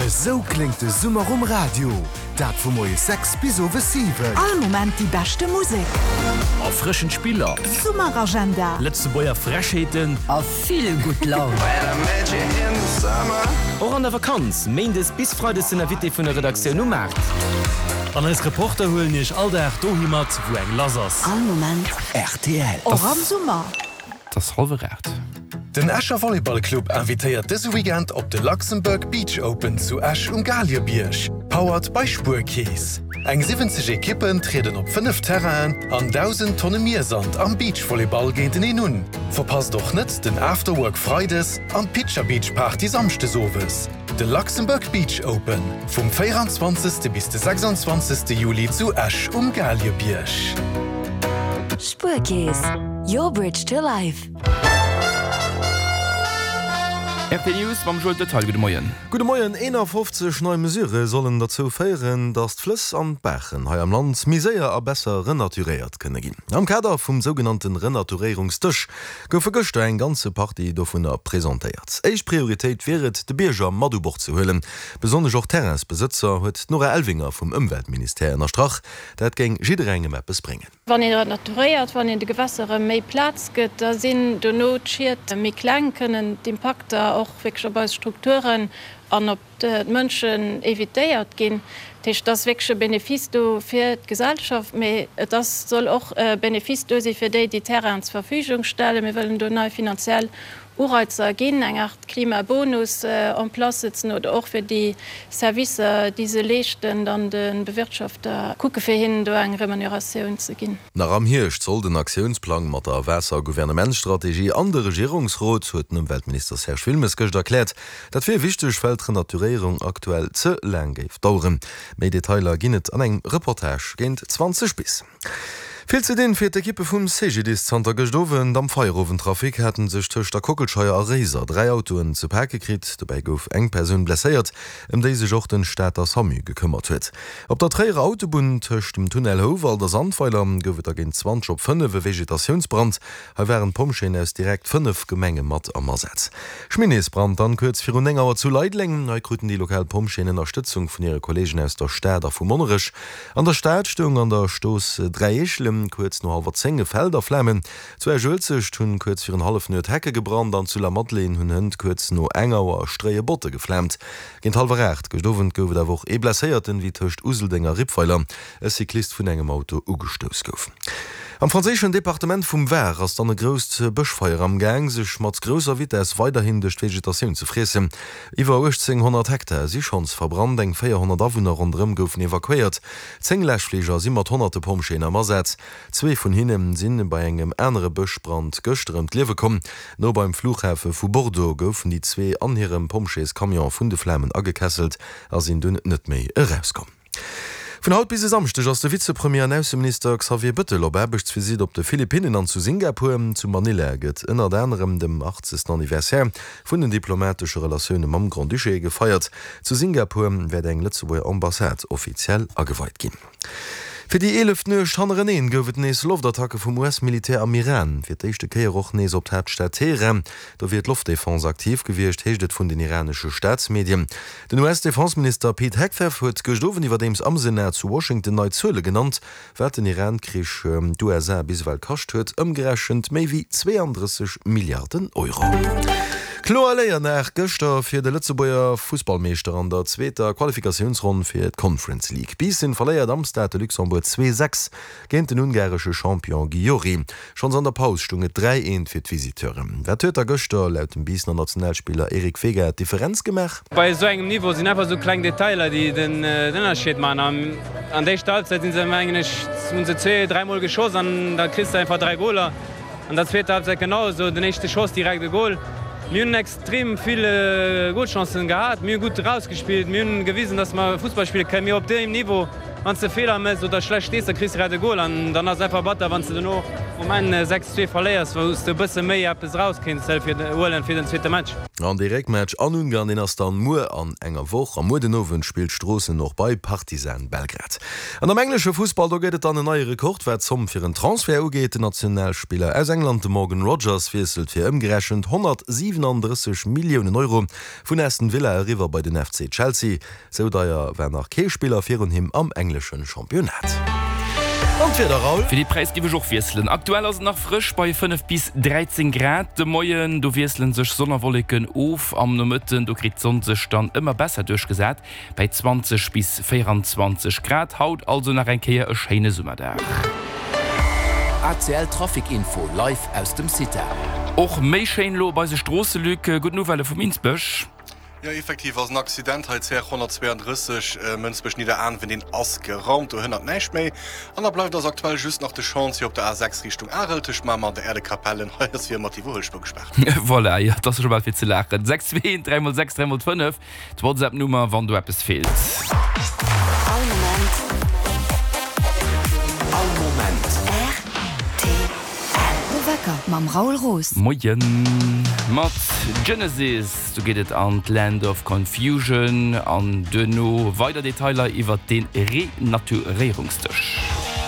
Esou kléngt de Summer um Radio, dat vu moies 6 bis owes 7. All Moment déi beschte Musek. Erfrëschend Spiller. Summeragenda. Lëtzebuerger Frechheeten. A vill gutt Laun. Och an der Vakanz, Méindes bis Freides den Invité vun der Redaktioun um Maart. An eis Reporter huelen iech all Dag dohi mat, wou eng lass ass. All Moment rtl. Och am Summer. Et ass hallwer 8. Den Escher Volleyball Club invitéiert dëse Weekend op de Luxembourg Beach Open zu Esch um Galiebierg, powered by Spuerkeess. Eng 70 Ekippen trieden op 5 Terrainen an 1.000 Tonne Miersand am Beachvolleyball géinteneen un. Verpasst och net den Afterwork Freides an d'Pitcher Beach Party Samschdes owes. De Luxembourg Beach Open vum 24. Bis de 26. Juli zu Esch um Galiebierg. Spuerkeess, your bridge to life. RT News mam Joël Detaille, gudde Moien. Gudde Moien. 51 nei Mesurë sollen derzou féieren, datt d'Flëss an d'Baachen hei am Land méi séier a besser renaturéiert kënne ginn. Am Kader vum sougenannte Renaturéierungsdësch goufe gëschter eng ganze Partie dovunner presentéiert. Éischt Prioritéit wier et, de Bierger mat u Bord ze huelen, besonnesch och d'Terrainsbesëtzer, huet d'Nora Elvinger vum Ëmweltministère ënnerstrach. Dat géing jidderengem eppes bréngen. Wann een renaturéiert, wann een de Gewässer erëm méi Plaz gëtt, da sinn dono d'Schied méi kleng, kënnen d'Impakter och wierklech op eis Strukturen an op d'Mënschen evitéiert ginn. Dat heescht, et ass wierklech e Benefice do fir d'Gesellschaft, mee et ass, soll och e Benefice do si fir déi, déi Terrainen zur Verfügung stellen. Mir wëllen do nei finanziell Ureizer ginn, eng Art Klimabonus en place setzen oder och fir déi Servicer, déi se leeschten, dann de Bewirtschafter kucke fir hinnen do eng Remuneratioun ze ginn. Nach am Hierscht soll den Aktiounsplang mat der Waasser-Gouvernementsstrategie an de Regierungsrot, huet den Ëmweltminister Serge Wilmes gëscht erkläert. Dat wier wichteg, well d'Renaturéierung aktuell ze laang géif daueren. Méi Detailer ginn et an engem Reportage géint 20 bis. Vill ze dinn fir d'Ekippe vum CGDIS. Zanter gëscht Owend am Feierowendtrafic haten sech tëscht der Kockelscheier a Réiser 3 Autoen ze pake kritt. Dobäi gouf eng Persoun blesséiert, ëm déi sech och den Stater Samu gekëmmert huet. Op der Tréierer Autobunn tëscht dem Tunnel Houwald a Sandweiler gouf et da géint 20 op 5 e Vegetatiounsbrand. Hei waren d'Pompjeeën aus direkt 5 Gemenge mat am Asaz. Schminneesbrand dann kuerz virun 9 Auer zu Leideleng. Hei kruten déi lokal Pompjeeën Ënnerstëtzung vun hire Kolleegen aus der Stad a vu Monnerech. An der Stad stoung an der Stooss Dräieechelen kuerz no hallwer 10 e Feld a Flamen. Zu Esch-Uelzecht hunn kuerz virun Hallefnuet Hecke gebrannt an zu Lamadelaine hunn hënt kuerz no eng Auer stréie Botte geflaamt. Géint hallwer 8 gëscht Owend gouf et awer och ee Blesséierten, wéi tëscht Useldeng a Rippweiler e Cyclist vun engem Auto ugestouss gouf. Am franséischen Departement vum Var ass dann e grousst Bëschfeier am Gaang, sech mat grousser Vitess weiderhin duerch d'Vegetatioun ze friessen. Iwwer 1.800 Hektar si schonns verbrannt, eng 400 Awunner ronderëm goufen evakuéiert. 10 Läschfliger si mat honnerte Pompjeeën am Asaz. Zwee vun hinne si bei engem anere Bëschbrand gëschter ëm d'Liewe komm. No beim Flughafe vu Bordeaux goufen déi zwee an hirem Pompjeescamion vun de Flamen agekesselt a sinn dunn net méi erauskomm. Vun haut bis e Samschdeg ass de Vizepremier an Ausseminister Xavier Bëttel op Aarbechtsvisitt op de Philippinnen an zu Singapur. Zu Manila gëtt ënnert anerem dem 80. Anniversaire vun den diplomatesche Relatioune mam Grand-Duché gefeiert. Zu Singapur wäert eng Lëtzebuerger Ambassade offiziell ageweit ginn. Fir déi eeleft Nuecht hannereneen gouf et nees Loftattacke vum US-Militär am Iran. Fir d'éischte Kéier och nees op d'Haaptstad Teheran. Do wier d'Loftdefense aktiv gewiescht, heescht et vun den iranesche Staatsmedien. Den US-Defenseminister Pete Hegseth huet gëscht Owend iwwerdeems am Senat zu Washington nei Zuele genannt, wat den Iran-Krich d'USA bis ewell kascht huet, ëmgerechent méi wéi 32 Milliarden Euro. Kloer Léier gëschter fir de Lëtzebuerger Fussballmeeschter an der zweeter Qualifikatiounsronn fir d'Conference League. Biissen verléiert am Stade de Luxembourg 2, 6 Géint den ungaresche Champion Gyori. Schonns an der Paus stung et 3, 1 fir d'Visiteuren. Wat huet da gëschter laut dem Biissener Nationalspiller Eric Vega d'Differenz gemaach? Bei esou engem Niveau sinn einfach esou kleng Detailer, déi den Ënnerscheed maachen. An an der éischter Halbzeit si se, mengen ech, hunn se zwee, dräimol geschoss an da kriss de einfach dräi Goler. An der zweeter Halbzeit genau esou, den éischte Schoss direkt e Gol. Mir hunn extrem vill Golchancen gehat, mir hu gutt erausgespillt, mir hunn gewisen, datt mer Fussball spille kënnen. Mee op deem Niveau, wann s de Feeler méchs oder schlecht stees, da kriss de grad e Gol an dann ass et einfach batter, wann s de dono. Um Enn 6, 2 verléiers, wou s de e bësse méi eppes eraus kéints huelen fir den zweete Match. An dee Réckmatch an Ungarn, deen ass dann muer an enger Woch. A muer den Owend spillt Stroossen och bei Partizan Belgrad. An am englesche Fussball, do gëtt et dann en neie Rekord, wat d'Zomm fir en Transfert ugeet. Den Nationalspiller aus England, de Morgan Rogers, wiesselt fir ëmgerechent 137 Milliounen Euro vun Aston Villa eriwwer bei den FC Chelsea. Sou deier war nach kee Spiller virun him am englesche Championnat. An d'Wieder, Raoul? Fir dee Präis giff ech och wiesselen. Aktuell ass et nach frësch bei 5 bis 13 Grad. De Moien, do wiessele sech Sonn a Wolleken of. Am Nomëtten, do kritt d'Sonn sech dann ëmmer besser duerchgesat bei 20 bis 24 Grad. Haut also nach eng Kéier e schéine Summerdag. ACL Trafic Info live aus dem CITA. Och méi schéin elo op eise Stroosse, Luc. Gutt Nouvellë vum Insbech. Jo effektiv ass en Accident hei, CR 132 Mënsbech-Nidderaanwen, deen ass geraumt, do hënnert näischt méi. An da bleift eis aktuell just nach de Chantier op der A6 Richtung Arel tëscht Mamer an der Erdekapelle. Hei ass wéi ëmmer d'Iwwerhuelspuer gespaart. Voilà, jo, et ass scho bal fir ze laachen. 6 2 3 mol 6 3 mol 5, d'Whatsapp-Nummer, wann do eppes feelt. All Moment. All Moment. Rtl. De Wecker mam Raoul Roos. Moien. Mat Genesis, do geet et an d'Land of Confusion an duerno weider Detailer iwwert de Renaturéierungsdësch.